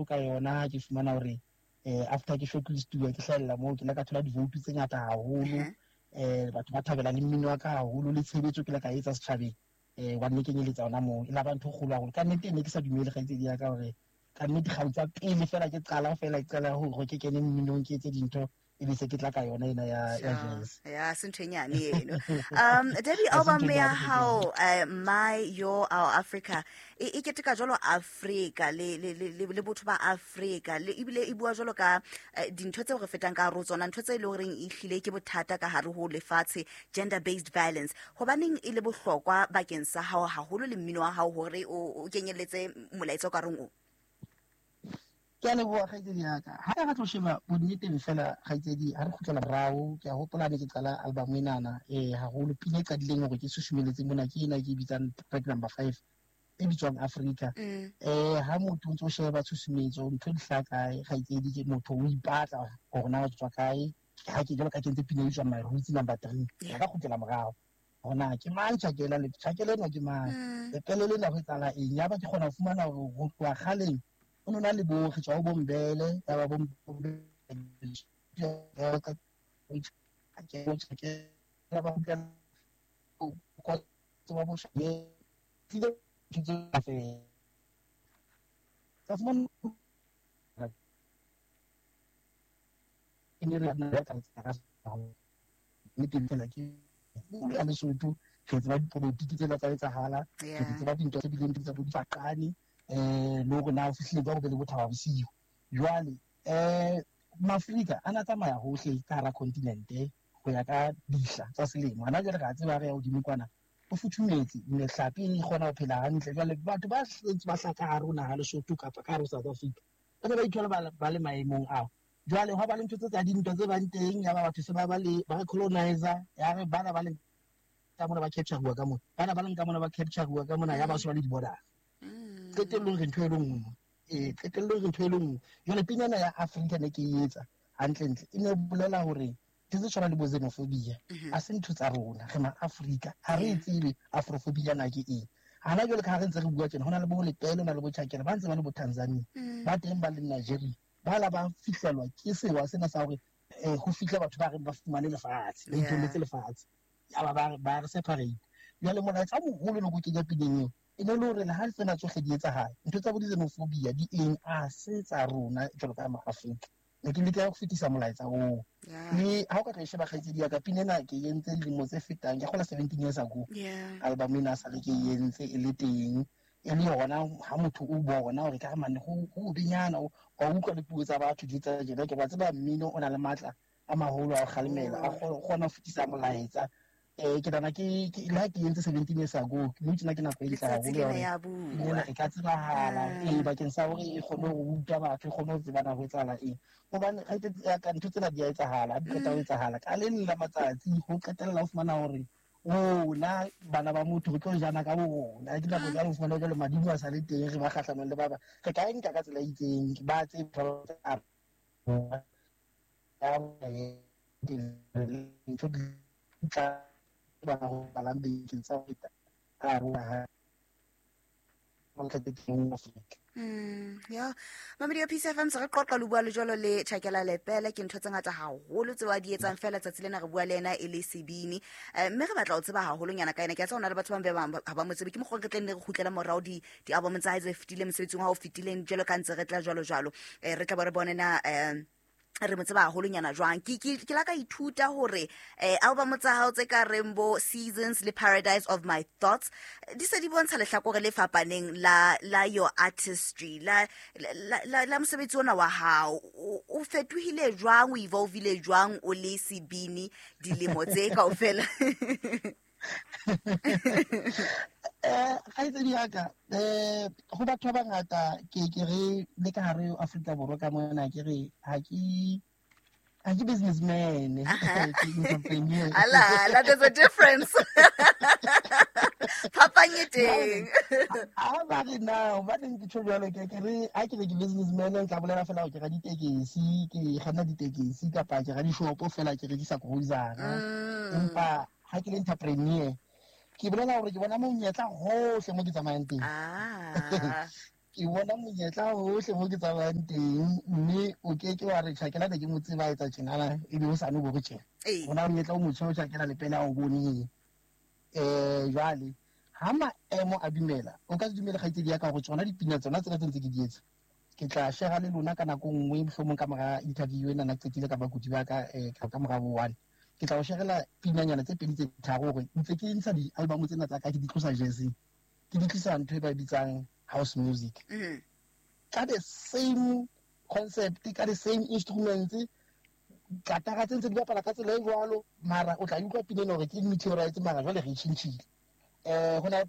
Ka yona ke fumana hore after ke shortlist-uwa, ke hlahella moo, ke ile ka thola di-vote tse ngata haholo. Batho ba thabela le mmino wa ka haholo, le tshebetso ke ile ka etsa setjhabeng, wa nne kenyeletsa hona moo. E la ba ntho e kgolo haholo ka nnete. Ne ke sa dumele, kgaitsedi ya ka, hore ka nnete kgau tsa pele fela ke qala fela, ke qala hore ke kene mminong, ke etse dintho, e be se ke tla ka yona ena ya jazz. Ya se ntho e nyane eno. Debbie, album ya hao, My Your Our Africa, e keteka jwalo Africa le botho ba Africa, le ebile e bua jwalo ka dintho tseo re fetang ka hare ho tsona, ntho tse e leng horeng e hlile ke bothata ka hare ho lefatshe, gender based violence. Hobaneng e le bohlokwa bakeng sa hao haholo le mmino wa hao hore o kenyelletse molaetsa o ka reng o? Ke a leboha, kgaitsedi ya ka. Ha re tlo sheba bonneteng fela, kgaitsedi, ha re kgutlela morao, ke a hopola ne ke qala album enana, haholo pina e qadileng hore ke susumeletse mona ke ena ke e bitsang track number 5, e bitswang Africa. Ha motho o ntso sheba tshusumetso, ntho di hlaha kae, kgaitsedi? Ke motho o ipatla hore na o tswa kae. Ha ke jwalo ka kentse pina e bitswang My Roots number 3, ka kgutlela morao hore na ke mang Tjhakela, le Tjhakela enwa ke mang, lepele lena ho etsahala eng. Yaba ke kgona ho fumana hore ho tloha kgaleng o no na le bo re tswa ho bombele, ya ba bombele ba ba bo tlile ka fumana e ne re ya ka nnete fela ke ya Lesotho. Re tseba dipolotiki tsena tsa etsahala, re tseba dintho tse bileng tsa bo difaqane, le hore na ho fihlile jwang ho be le bothaba bosiu. Jwale Maafrika a na tsamaya hohle ka hara continente ho ya ka dihla tsa selemo. Hana jwale re a tseba, re ya hodimo kwana ho futhumetse, mehlape e kgona ho phela hantle. Jwale batho ba ntse ba hlaha ka hare ho naha Lesotho kapa ka hare ho South Africa, ba ne ba ithola ba le maemong ao. Jwale hwa ba le ntho tse tsa dintwa tse bang teng, ya ba batho se ba ba le ba re colonizer, ya re bana ba le ka mona ba capture-uwa ka mona, bana ba leng ka mona ba capture-uwa ka mona, ya ba se ba le di-border. Qetellong re ntho e le nngwe. Qetellong re ntho e le nngwe. Jwale pina ena ya Africa ne ke e etsa hantlentle, e ne bolela hore ntho tse tshwanang le bo xenophobia a se ntho tsa rona, re ma-Afrika, ha re e tsebe afrophobia na ke eng. Hana jwale ka ha re ntse re bua tjena, ho na le bo Lepele, ho na le bo Tjhakela, ba ntse ba le bo Tanzania, ba teng ba le Nigeria, ba la ba fihlelwa ke sewa sena sa hore ho fihle batho ba reng ba fumane lefatshe, ba itoletse lefatshe, yaba ba re separate. Jwale molaetsa o moholo ne ko kenya pineng eo e ne le hore le ha tsena tsohle di etsahala, ntho tsa bo di-xenophobia di eng, a se tsa rona jwalo ka ma-Afrika. Ne ke leka ho fetisa molaetsa oo. Le ha o ka tlo e sheba, kgaitsedi ya ka, pina ena ke entse dilemo tse fetang, ke kgola 17 years ago. Album ena sa le ke entse e le teng, e le yona ha motho o bona hore ka re mane ho benyana, wa utlwa le puo tsa batho di tsa tjena. Ke ba tseba mmino o na le matla a maholo a ho kgalemela, a kgona ho fetisa molaetsa. Ke nahana ke le ha ke entse 17 years ago, nou tjena ke nako e ntle haholo ya hore pina ena e ka tsebahala, bakeng sa hore e kgone ho ruta batho, e kgone ho tseba na ho etsahala eng. Hobane ka ntho tsena di a etsahala, ha di qeta ho etsahala ka le leng la matsatsi ho qetella ho fumana hore rona bana ba motho re tlo jana ka bo rona. Ke nako tsa ho fumana jwale madimo a sa le teng, re ba kgahlanong le ba bang, re ka e nka ka tsela e itseng, ba tsebe ntho di tla ba ho balang bekeng tsa ho feta ka hare ho naha Afrika. Ya mamedi ya Peace FM, se re qoqa le bua le jwalo le Tjhakela Lepele. Ke ntho tse ngata haholo tseo a di etsang fela tsatsi lena re bua le yena e le sebini, mme re batla ho tseba haholonyana ka yena. Ke a tseba ho na le batho ba bang ha ba mo tsebe, ke mokgwa re tleng ne re kgutlela morao di-album tsa hae tse fetileng, mosebetsing wa ho fetileng, jwalo ka ntse re tla jwalo jwalo, re tla bo re bone na re mo tseba haholonyana jwang. Ke la ka ithuta hore album tsa hao tse ka reng bo Seasons le Paradise of My Thoughts di se di bontsha lehlakore le fapaneng la your artistry, la mosebetsi ona wa hao. O fetohile jwang, o evolvile jwang o le sebini dilemo tse kaofela? Kgaitsedi ya ka, ho batho ba bangata ke re le ka hare Afrika Borwa ka mona, ke re ha ke businessman, ke entrepreneur. Ala ala, there's a difference, phapang e teng. Ha ba re na hobaneng ke tjho jwalo, ke re ha ke re ke businessman, nka bolela fela hore ke ra ditekesi, ke kganna ditekesi, kapa ke ra dishopo fela, ke rekisa grocery. Empa ha ke le entrepreneur, ke bolela hore ke bona monyetla hohle mo ke tsamayang teng. Ke bona monyetla hohle mo ke tsamayang teng, mme o ke ke wa re Tjhakela ne ke mo tseba etsa tjenana, ebe o sane bo re tjena. Hona monyetla o motjha o Tjhakela Lepele a o boneng. Jwale ha maemo a dumela, o ka se dumele kgaitsedi ya ka hore tsona dipina tsona tsena tse ntse ke di etsa, ke tla share le lona ka nako nngwe, mohlomong ka mora interview ena na qetile ka bakudi ba ka, ka mora bo 1. Ke tla o sharela pinanyana tse pedi tse tharo hore ntse ke ntsha di-album tsena tsa ka, ke di tlosa jazzing, ke di tlisa ntho e ba e bitsang house music. Ka the same concept, ka the same instruments, katara tse ntse di bapala ka tsela e jwalo, mara o tla utlwa pina ena hore ke meteorite, mara jwale re e tjhentjhile. Ho na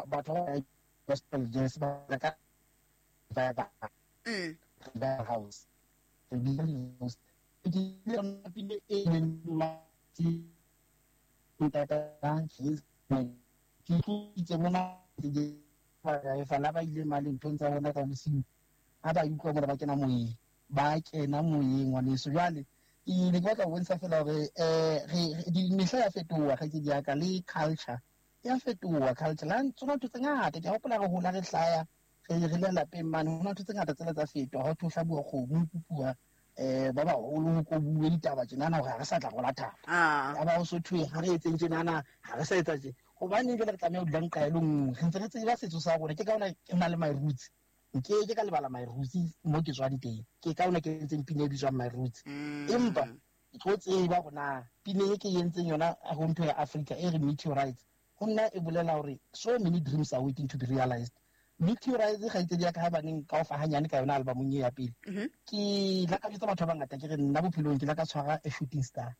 batho ba gospel jazz ba ka ba ba house. Re bitsa di-house. Ke yona pina e leng ntata ke tlositse mona ba ba ile mane nthong tsa bona tsa bosiu, ha ba utlwa mona ba kena moyeng, ba kena moyeng ngwaneso. Jwale ke ne ke batla ho bontsha fela hore mehla ya fetoha, kgaitsedi ya ka, le culture ya fetoha. Culture la tsona ntho tse ngata, ke a hopola re hola re hlaya re le lapeng mane, ho na ntho tse ngata tsela tsa fetoha. Ha ho hlabuwa kgomo, ho kupuwa ba baholo, ho kobuwe ditaba tjenana hore ha re sa tla rola thapo. Ya ba ho so thwe ha re etseng tjenana, ha re sa etsa tje. Hobaneng jwale re tlameha ho dula nqa e le nngwe? Re ntse re tseba setso sa rona. Ke ka hona ke na le my roots. Nke ke ka lebala my roots mo ke tswang teng. Ke ka hona ke entseng pina e bitswang my roots. Empa ke tlo tseba hore na pina e ke entseng yona ho ntho ya Africa e re meteorites, ho nna e bolela hore so many dreams are waiting to be realized. Meteorites kgaitsedi ya ka, haebaneng ka o fa hanyane ka yona albumong e ya pele, ke la ka jwetsa batho ba bangata ke re nna bophelong ke la ka tshwara a shooting star,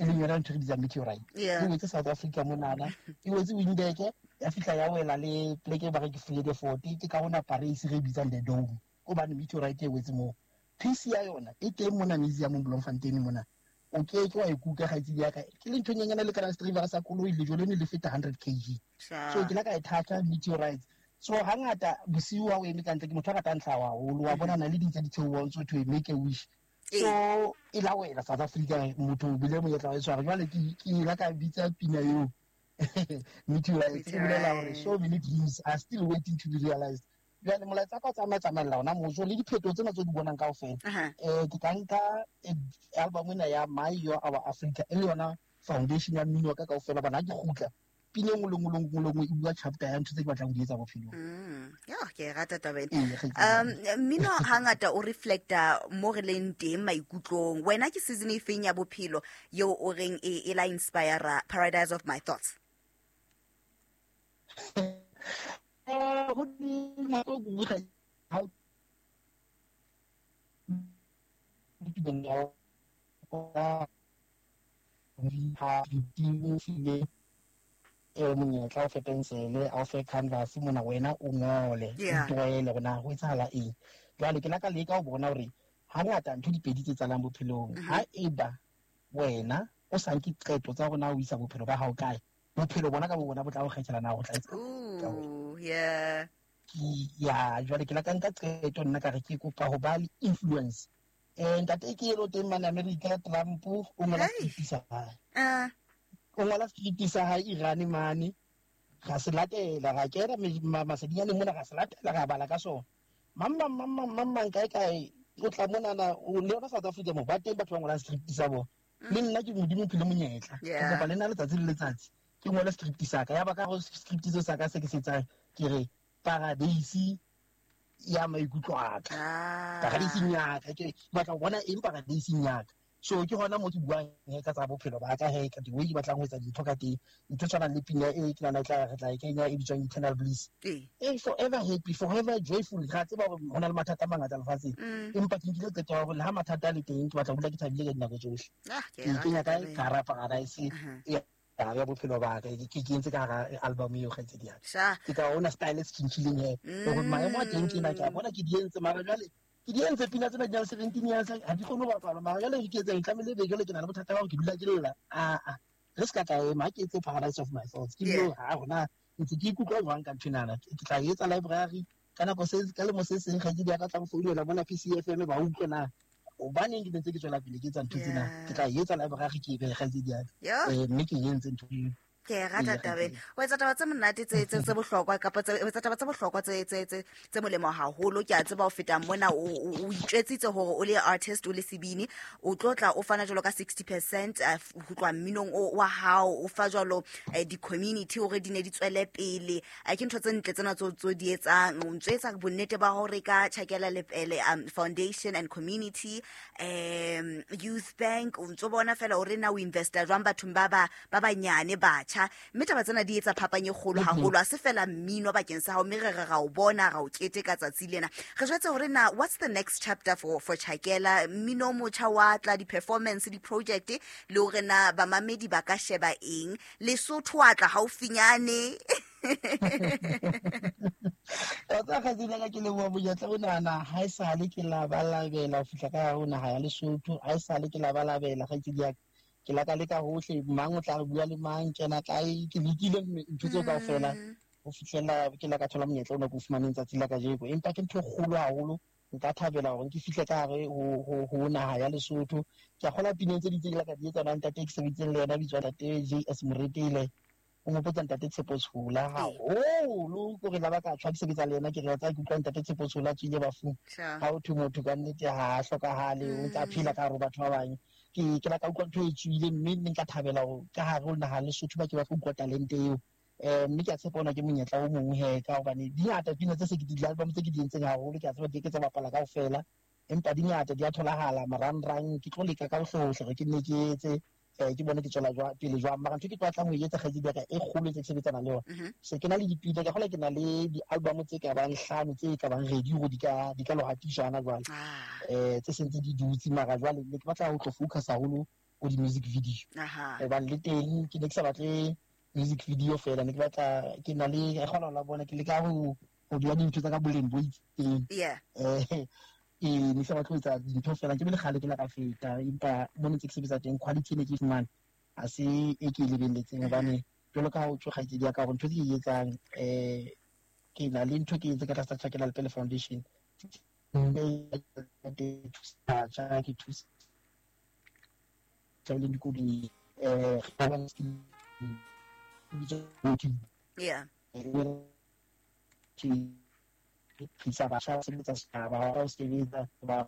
e leng yona ntho e re bitsang meteorite. E wetse South Africa monana, e wetse Windberg, ya fihla ya wela le pleke e ba re ke Vredefort, ke ka hona Paris re e bitsang the Dome, hobane meteorite e wetse moo. Piece ya yona e teng mona museum Bloemfontein mona. O ke ke wa e kuka kgaitsedi ya ka, ke le ntho e nyenyane le kana driver sa koloi, lejwe lene le feta 100 kg. So ke la ka e thatha meteorites. So hangata bosiu ha o eme ka ntle, ke motho a ratang tlhaho haholo, wa bona na le ding tse di theohang tso thwe make a wish. So e la wela South Africa, motho o bile monyetla wa e tshwara. Jwale ke la ka bitsa pina eo meteorites, e bolela hore so many dreams are still waiting to be realized. Jwale molaetsa ka o tsamaya tsamaella hona moo, so le diphetoho tsena tse di bonang kaofela. Ke tla nka album ena ya My Your Our Africa, e le yona foundation ya mmino wa ka kaofela. Hobane ha ke kgutla, pina e nngwe le nngwe le nngwe le nngwe e bua chapter ya ntho tse ke batlang ho di etsa bophelong. Yo, ke e rata taba ena. Ee, kgaitsedi ya ka. Mmino hangata o reflecta mo re leng teng maikutlong. Wena ke season e feng ya bophelo eo o reng e la inspire Paradise of My Thoughts? Ho nako e nngwe ha o monyetla o fe pensele, a o fe canvas mona, wena o ngole, o itlwaele hore na ho etsahala eng. Jwale ke la ka leka ho bona hore hangata ntho di pedi tse tsalang bophelong. Ha eba wena o sa nke qeto tsa hore na o isa bophelo ba hao kae, bophelo bona ka bo bona bo tla o kgethela na o tla etsa. Ooh, yeah. Ya, jwale ke la ka nka qeto nna ka re ke kopa ho ba le influence. Ntate ke elo teng mane America, Trump o ngola script sa hae. O ngola script sa hae Iran mane. Ra se latela, ra kena masedinyaneng mona, ra se latela, ra bala ka sona. Mang, mang, mang, mang, mang, mang, kae, kae, o tla monana, o le yona South Africa mo, ba teng batho ba ngolang script sa bona. Le nna ke Modimo o phile monyetla. Ke kopa le nna letsatsi le letsatsi ke ngole script sa ka. Ya ba ka go script seo sa ka se ke se etsang, ke re paradise ya maikutlo a ka. Paradiseng ya ka, ke batla ho bona eng paradiseng ya ka. So ke hona mo ke buang he ka tsa bophelo ba ka, he ka the way ke batlang ho etsa dintho ka teng. Ntho e tshwanang le pina e ke nahana re tla e kenya e bitswang Eternal Bliss. Forever happy, forever joyful. Ra tseba hore ho na le mathata a mangata lefatsheng. Empa ke nkile qeto ya hore le ha mathata a le teng, ke batla ho dula ke thabile ka dinako tsohle. Ke Ke rata kenya kae? taba ena. Ka hara paradise ya bophelo ba ka. Ke entse ka hara album eo, kgaitsedi ya ka. Ke ka ona style se tjhentjhileng he. Hore maemo a teng ke ena, ke a bona ke di entse, mara jwale ke di entse pina tsena di na le 17 years, ha di kgone ho bapalwa. Mara jwale ke etseng, tlamehile ebe jwale ke na le bothata ba hore ke dula ke lla. Aa, re se ka tla ema, ha ke etse Paradise of My Thoughts. Ke dilo, ha hona ntse ke ikutlwa jwang ka ntho enana. Ke tla etsa library ka nako se, ka lemo se seng, kgaitsedi ya ka tla nfounela mona PCFM, ba utlwe na hobaneng ke ntse ke tswela pele ke etsa ntho tsena. Ke tla etsa library ke e behe, kgaitsedi ya ka. Mme ke entse ntho eo. Ke e rata tabeng. O etsa taba tse monate tse bohlokwa, kapa o etsa taba tse bohlokwa tse molemo haholo. Ke a tseba ho feta mona o itjwetsitse hore o le artist, o le sebini, o tlo tla o fana jwalo ka 60% ho tloha mminong wa hao, o fa jwalo di-community hore di ne di tswele pele. Ke ntho tse ntle tsena tso di etsang. O ntso etsa bonnete ba hore ka Chakela Lepele Foundation and Community, Youth Bank, o ntso bona fela hore na o investa jwang bathong ba banyane batjha. Mme taba tsena di etsa phapang e kgolo haholo. Ha se fela mmino bakeng sa hao, mme re re ra o bona, ra o keteka tsatsi lena. Re jwetse hore na what's the next chapter for Chakela? Mmino o motjha wa tla, di-performance, di-project, le hore na bamamedi ba ka sheba eng. Lesotho wa tla haufinyane. Tsa kgaitsedi ya ka, ke leboha monyetla o nana. Ha esale ke labalabela ho fihla ka hare ho naha ya Lesotho, ha esale ke labalabela kgaitsedi ya ka. Ke la ka leka hohle, mang o tla re bua le mang, kena kae, ke lekile ntho tseo kaofela ho fihlela ke la ka thola monyetla ona ke o fumaneng tsatsi la kajeko. Empa ke ntho e kgolo haholo, nka thabela hore ke fihle ka hare ho naha ya Lesotho. Ke a kgola pineng tse ding tse ke la ka di etsa na ntate ke sebeditseng le yena, bitswa ntate JS Moretele. O nghopotsa ntate Tshepo Tshola haholo, ke hore la ba ka tshwa ke sebetsa le yena, ke re tsa ke utlwa ntate Tshepo Tshola a tswile bafung. Ha ho thwe motho ka nnete ha a hlokahale, o ntse a phela ka hare ho batho ba bang. Ke la ka utlwa ntho e tswile, mme nne nka thabela hore ka hare ho naha Lesotho ba ke ba tlo utlwa talente eo. Mme ke a tshepa ona ke monyetla o mong he, ka hobane di ngata pina tse se ke di album tse ke di entseng haholo, ke a tseba di ke tsa bapala kaofela, empa di ngata di a tholahala marangrang. Ke tlo leka ka hohle hohle hore ke nne ke etse, ke bone ke tswela pele jwang. Mara ntho ke tlo batlang ho e etsa kgaitsedi ya ka e kgolo tse ke sebetsana le yona, se ke na le dipina, ke kgola ke na le di-album tse ka bang 5 tse ka bang ready hore di ka lo hatiswa hana jwale. Tse sentse di dutse, mara jwale ne ke batla ho tlo focus haholo ho di-music video. Hobane le teng ke ne ke sa batle music video fela, ne ke batla, ke na le, ke kgona ho la bona, ke leka ho beha dintho tsa ka boleng bo itseng. Ne ke sa batle ho etsa dintho fela, ke be le kgale ke la ka feta, empa mo ne ntse ke sebetsa teng quality e ne ke e fumana ha se e ke e lebelletseng. Hobane jwalo ka ha o tjho kgaitsedi ya ka hore ntho tse ke e etsang, ke na le ntho ke entse ka tlasa Chakela Lepele Foundation. Ke thusa batjha, ke thusa tsa leng dikolong, Ke thusa batjha ba sebetsa setjhaba, ba o sebetsa ba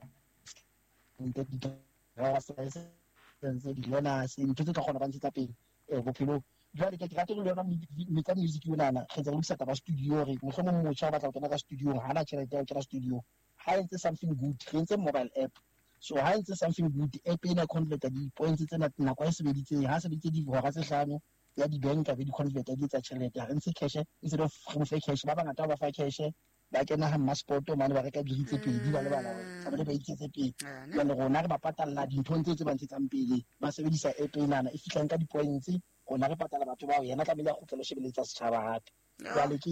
di-learners, ntho tse tla kgona ba ntshetsa pele bophelong. Jwale ke rate le yona metsa music onana, re ntse re lokisa taba studio, re mohlomong motjha o batla ho kena ka studio, ha ana tjhelete ya ho kena studio, ha entse something good, re entse mobile app. So ha entse something good, app ena converta di-points tsena nako e sebeditseng, ha sebeditse dihora tse 5 ya di-bank be di-converta di etsa tjhelete. Ha re ntshe cash, instead of re mo fe cash, ba bangata ba fa cash, ba kena ha mmaspoto mane ba reka biri tse 2, ba lebala hore tlamehile ba iketse pele. Jwale rona re ba patalla dinthong tse ba ntshetsang pele, ba sebedisa app enana e fihlang ka di-points, rona re patala batho bao, yena tlamehile a kgutlele ho shebeletsa setjhaba hape. Jwale ke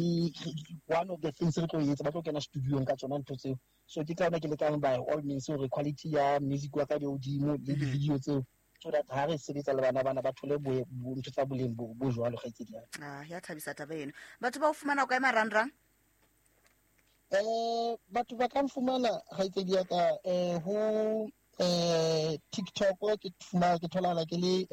one of the things re tlo etsa, ba tlo kena studio-ong ka tsona ntho tseo. So ke ka yona ke lekang by all means hore quality ya music wa ka di hodimo le di-video tseo, so that ha re sebetsa le bana bana ba thole ntho tsa boleng bo jwalo kgaitsedi ya ka. Ya thabisa taba eno. Batho ba o fumana kae marangrang? Batho ba ka nfumana kgaitsedi ya ka, ho TikTok ke fumana, ke tholahala ke le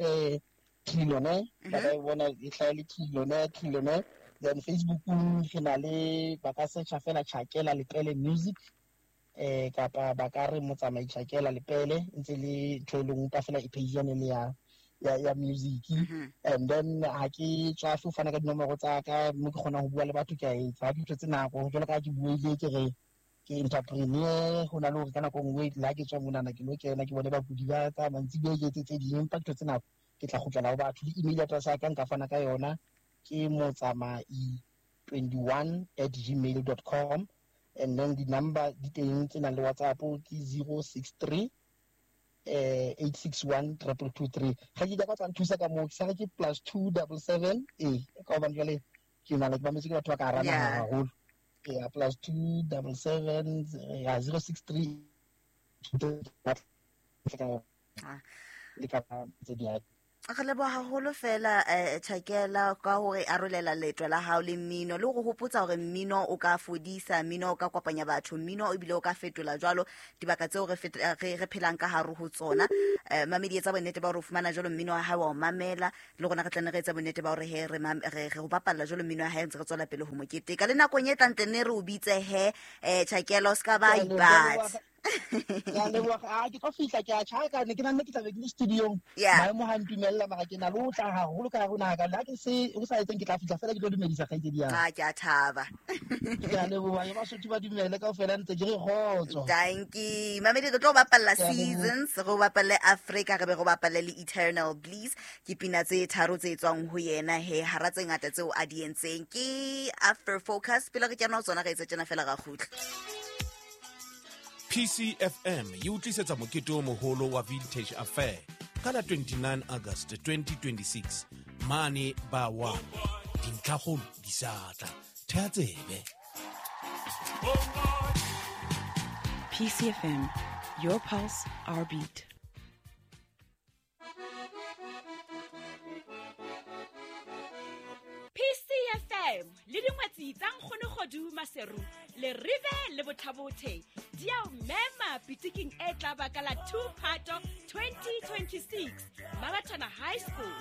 Trillionaire. Ba ka e bona e hlaha le Trillionaire, Trillionaire. Then Facebook re na le, ba ka searcha fela Chakela Lepele Music, kapa ba ka re Motsamai Chakela Lepele, ntse le ntho e leng pa fela e page yane le ya music. And then ha ke tswafe ho fana ka dinomoro tsa ka, mo ke kgonang ho bua le batho ke a etsa. Ha ke thotse nako, jwalo ka ha ke buile ke re ke entrepreneur, ho na le hore ka nako e nngwe le ha ke tswa monana ke lo kena ke bone bakudi ba ka mantsibuya ke etse tse ding, empa ke thotse nako ke tla kgutlela ho batho. Le email address ya ka nka fana ka yona, ke motsamai21@gmail.com. And then the number di teng tse nang le WhatsApp ke 063, 861 223. Ga ke ka tla nthusa ka moo, ke sa re ke +277, ka hobane jwale ke na le ke mametse ke batho ba ka hara naha haholo. Ya +277, ya 063, le ka tse di. Re leboha haholo fela Chakela ka hore arolela leeto la hao le mmino, le hore hopotsa hore mmino o ka fodisa, mmino o ka kopanya batho, mmino ebile o ka fetola jwalo dibaka tseo re re phelang ka hare ho tsona. Mamedi, etsa bonnete ba hore o fumana jwalo mmino wa hae wa o mamela, le rona re tla ne re etsa bonnete ba hore he re ho bapalla jwalo mmino wa hae, ntse re tswela pele ho mo keteka. Le nakong e tlang teng ne re o bitse he Chakela, o ska ba ipatla. Ke a leboga. A ke tlo fihla, ke a tjhaka, ne ke nanne ke tlabe ke le studiong. Maemo ha ntumella, mara ke na le ho tla haholo ka hare ho naha ka le ha ke se ho sa etseng, ke tla fihla fela ke tlo dumedisa kgaitsedi ya ka. Ke a thaba. Ke a leboga, ke Basotho ba dumele kaofela, ntse ke re kgotso. Dankie. Mamedi, re tlo bapalla. Ke a leboha. Seasons, re o bapalle Africa, re be re o bapalle le Eternal Bliss. Ke pina tse tharo tse tswang ho yena he, hara tse ngata tseo a di entseng. Ke After Focus, pele re kena ho tsona re etse tjena fela ra kgutla. PCFM e o tlisetsa mokete o moholo wa Vintage Affair ka la 29 August 2026 mane ba wa dintlhakgolo di sa tla thea tsebe. PCFM, your pulse, our beat. PCFM le dingwetsi tsa Nkgonogodu Maseru le Rive le Bothabothe di a o mema pitiking e tla ba ka la 2 Phato 2026 Mabathana High School.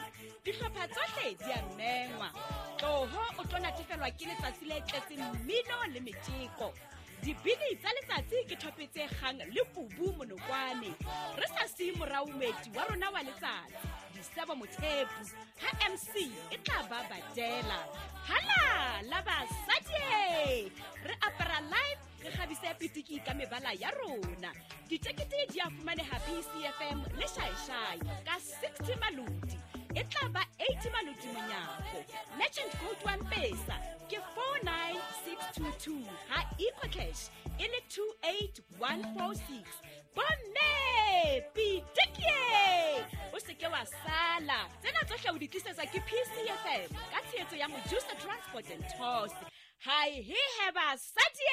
Dihlopha tsohle di a mengwa. Tloho o tlo natefelwa ke letsatsi le tletseng mmino le metjeko. Dibini tsa letsatsi ke thope tse kgang le kubu monokwane. Re sa siye morao moeti wa rona wa letsatsi, Disebo Mothepu, ha MC e tla ba badela. Hala la basadi! Re apara live, re kgabise pitiki ka mebala ya rona. Ditekete di a fumaneha PCFM le Shaeshai ka 60 maloti. E tla ba 80 maloti monyako. Merchant code wa Mpesa ke 49622, ha EcoCash e le 28146. Bomme, pitikie! O se ke wa sala. Tsena tsohle o di tlisetswa ke PCFM ka tshehetso ya Mojusa Transport and Tours. Hai he he basadi!